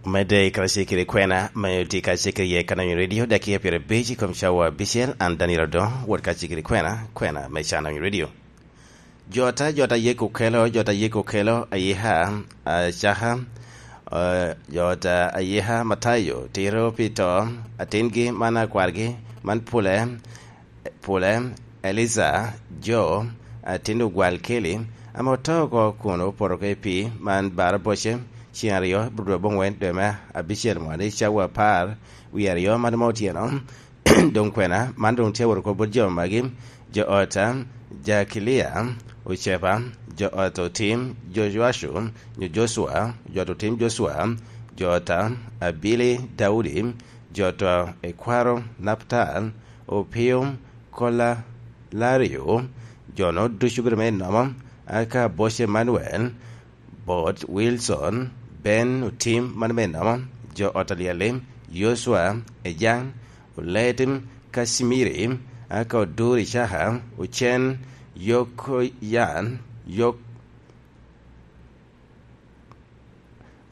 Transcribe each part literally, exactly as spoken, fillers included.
Omedde i karacel kede kwena me otye kacel kede ye Kanonyo Radio, dakiya pyerabic i kom cawa abicel, an Daniel Odongo, wot kacel kede kwena, kwena me Kanonyo Radio. Jota, jota yek okelo, jota yek okelo, ayika, acaka, eh, jota ayika Matayo, tiro pi to, atingi, man akwargi, man pule, pule, Eliza, jo, atin ogwal keli, ame oto oko kun opoto oko i pii, man bara boce, ceng aryo, bro dwe abongwen, dwe me abicel moni, cawa apar, wie aryo, man ma otyeno, doŋ kwena, man doŋ tye awot oko bot jo magi, jo ota, Jakilia, Ocepa, jo ot otim, Jocuacu, nyo Jocua, jo ot otim Jocua, jo ota, Abili, Daudi, jo oto, ekwaro, Naptal, Opio, Kola, Lario, jo-no ducu obedo me nomo, aka boc Emanuel, bot Wilson, Ben otim, mano me nomo, jo ot alyel-li, Yocua, Ejaŋ, Oletim, Kacimiri, aka odur Icaka, Ocen, Yokoyan, Yok-,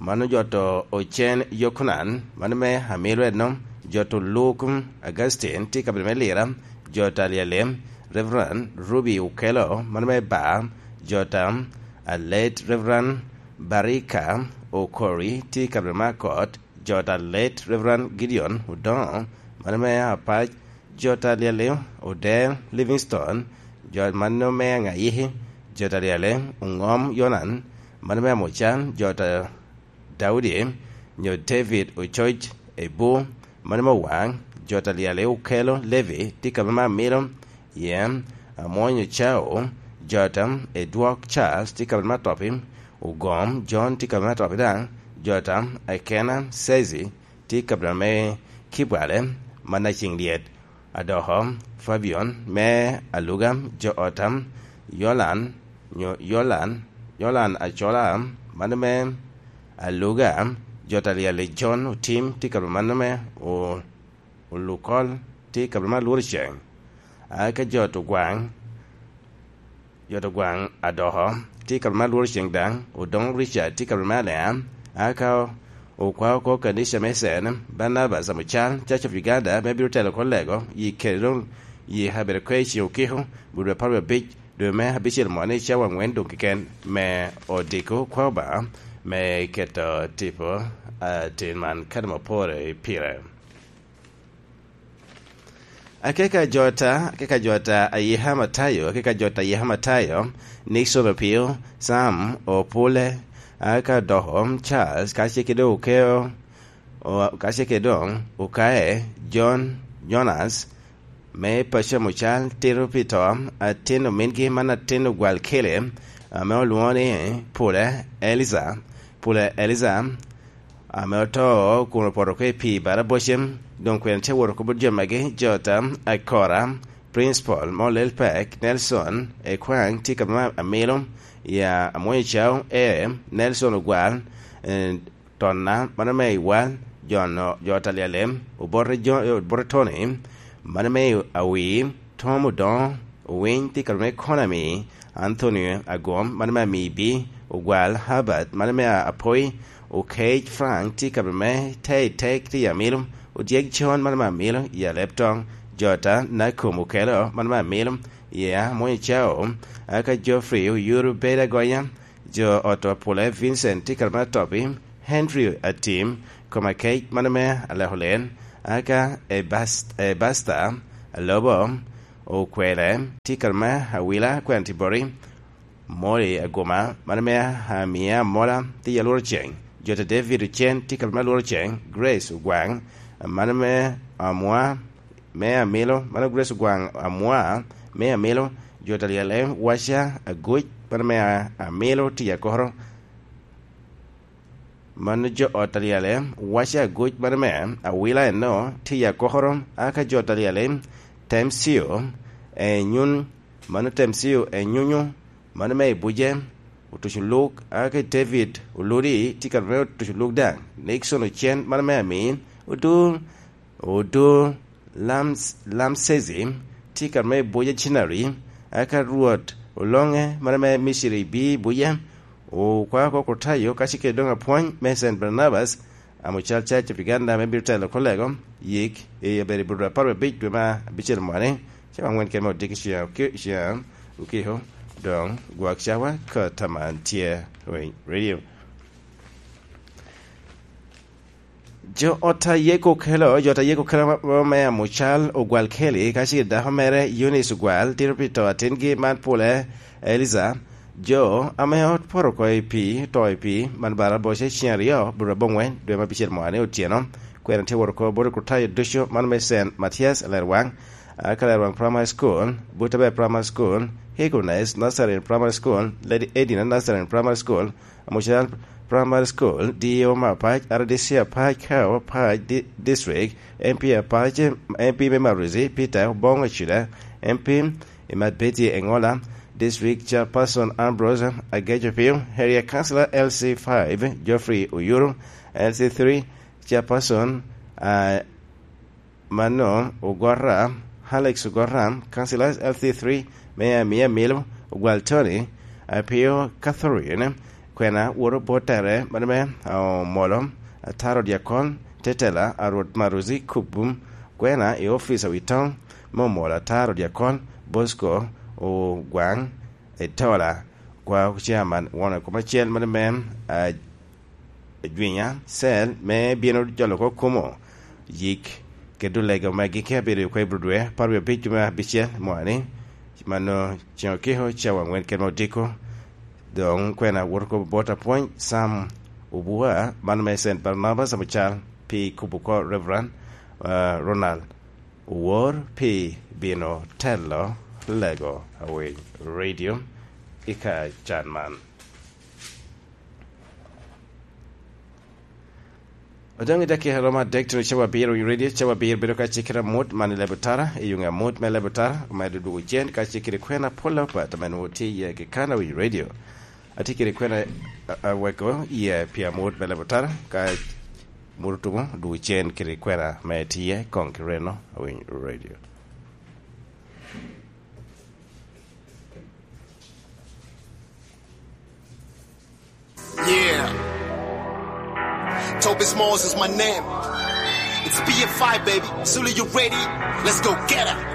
mano jo oto Ocen, Yokunan, mano me Amilo eno, jo oto Luk, Augustine, tye i kabedo me Lira, jo oto alyel-li, Reverend Ruby Okello, mano me Bar, jo oto, a late Reverend Barika Okori, tye i kabedo me Akot, jo oto a late Reverend Gideon Odongo, mano me Apac, jo oto alyel-li, Odero Livingstone, jo mano me Aŋayiki, jo oto alyel-li, Oŋom Yonan, mano me Amucan, jo oto Daudi, nyo David Ococ Ebu, mano me Owaŋ, jo oto alyel-li, Okello Levi, tye i kabedo me Amilo, Yam, Amwony Ocao, jo oto, Edwok Charles, tye i kabedo me Atopi, Ogom John, tye i kabedo me Atopi daŋ, jo oto, Akena Sezi, tye i kabedo me Kibwale, man Aceng Lyet, Adoko, Fabian, me Aluga, jo oto, Yolan, nyo Yolan, Yolan Acola, mano me Aluga, jo oto alyel-li, John Otim, tye i kabedo mano me O-, Olukol, tye i kabedo me Alworo Ceng. Aka jo oto Gwaŋ, jo oto Gwaŋ Adoko, tye i kabedo me Alworo Ceng daŋ, Odoŋo Richard, tye i kabedo me Alea, aka okwa oko kanica me Sen, Barnabas Amucal, Church of Uganda, me bino telo oko lego, yi kede doŋ yi kabedo kwe i ceŋ okiko, bur dwe apar wie abic, dwe me abicel moni, cawa aŋwen doŋ keken, me odiko kwa Obaŋa, me keto tipo, ah, tin man kadi ma opore pire. Akeka jota, akeka jota ayika Matayo, akeka jota ayika Matayo, Nixon Opio, Sam Opule, aka doko Charles, kace kede Okeo, o-, kace kede doŋ Okae, John, Jonas, me paco Mucal, tito pi to, atin omingi man atin ogwal kele, ame olwoŋo ni Pule Eliza, Pule Eliza, ame oto kun opoto oko i pii bara bocem, doŋ kwene te wot oko bot jo magi, Jota, Akora, Principal, Molel Pek, Nelson, Ekwaŋ, tye ka ma Amilo, ya Amwony Cao, e, Nelson Ogwal, eh, Tonna, mano me Iwal, Jon, Jota Alyalem, Obote Jo-, Obote Tony, mano me Awii, Tom Odoŋo, Owiny, tye ka me Konami, Anthony Agom, mano me Amibi, Ogwal Herbert, mano me Apoi, Okec Frank, tye ka me Tei Tek, tye i Amilo, Odyek Con, mano me Amilo, i Alep Toŋ, Jota, Nakum Okelo, mano me Amilo, i Amwony Cao, aka Geoffrey Oyuru Beda Gonya, jo ot Apule, Vincent, tye ka me Atopi, Henry Atim, Komakec, mano me Aleko Len, aka Ebas-, Ebasta, Alobo, Okwele, tye ka me Awila, Kwena Tibori, Moli Aguma, mano me Amia Amola, tye i Alworo Ceng. Jota David Ocen, tye ka me Alworo Ceng. Grace Ogwaŋ, mano me Amwa, me Amilo, mano Grace Ogwaŋ Amwa, me Amilo. Jota Lyalem Waca Aguc, mano me A-, Amilo, tye i Akoro. Mano jo ot Alyalem, Waca Aguc, mano me Awila eno, tye i Akokoro, aka jo ot Alyalem, Temcio, Enyun, mano Temcio, Enyunyu, mano me Ibuje, Otuco Luk, aka David, Oludi, tye ka me Otuco Luk daŋ, Nixon Ocen, mano me Amin, Odur, Odur, Lams-, Lamsezi, tye ka me Ibuje Cinari, aka Rwot, Oloŋe, mano me Miciri, bi Ibuje, Okwao oko Kurtayo ka cikere doŋ apwony me Saint Barnabas, amo cal Church of Uganda, me bino telo kolego yik i abedo i Budra apar abic dwe ma abicel mwani, cawa angwen kede me odiko ciya okiko, doŋ gwak cawa ka taman tye. Radio. Jo ot a yeko kelo, jo ot a yeko kelo ma, ma, me amucal ogwal Kelly, ka ce dako mere Eunice ogwal, tito pi to atingi man pole, Eliza. Jo ame ot poto oko i pii, to i pii, man bara boce ceng aryo, bro abongwen, dwe ma bicel mwani otyeno. Kwena tye woro ko bote Kurtayo ducu, man me Saint Matthias, Lerwang, a, ka Lerwang Primary School, Butabe Primary School, Eagleness Nazarene Primary School, Lady Edina Nazarene Primary School, Amucal Primary School, D O me apac, R D C apac, Kao apac, di-, District, M P apac, M P me Maruzi, Peter Obong Acuda, M P i Matbeti Engola, District Chairperson Ambrose Agejo Pio, Area Councillor L C five, Geoffrey Oyuru, L C three Chairperson, ah, Mano Ogora, Alex Ogora, Councillors L C three, Mayor Mia Milo, Ogwal Tony, Apio Catherine, Kwena Woro Botere, Madame Omolo, Ataro Diakon, Tetela, Arwot Maruzi Kubum, Kwena i office Awitong, me Omolo Ataro Diakon, Bosco Ogwang, Etola, kwa Chairman, Won Kom Acel, Madame, ah, Jwinya, Cell, me bino jolo oko kumo yik kede olega magi ka bedo i okwe Budwe, apar wie abic dwe me abicel mwani, mano ceŋ okiko cawa angwen kede me odiko. Doŋ kwena wot oko bot apwony Sam Obua, man me Saint Barnabas Abucal, pi kubo oko Reverend, ah, Ronald Owor pi bino telo lego Awiny Radio i ka can man. Odoŋ i dakika romo adek tuno cawa abiro, Awiny Radio, cawa abiro bedo ka cikere amut man i Lebutara, i yuŋe amut me Lebutara, omedo dwogo cen ka cikere kwena pol apat ame nwoŋo tye iye kekana Awiny Radio. Atye kede kwena a-, aweko iye pi amut me Lebutara, ka mut otumo dwogo cen kede kwena me tye koŋ ki reno Awiny Radio. Yeah. Toby Smalls is my name. It's B F I, baby. Soon as you ready, let's go get it.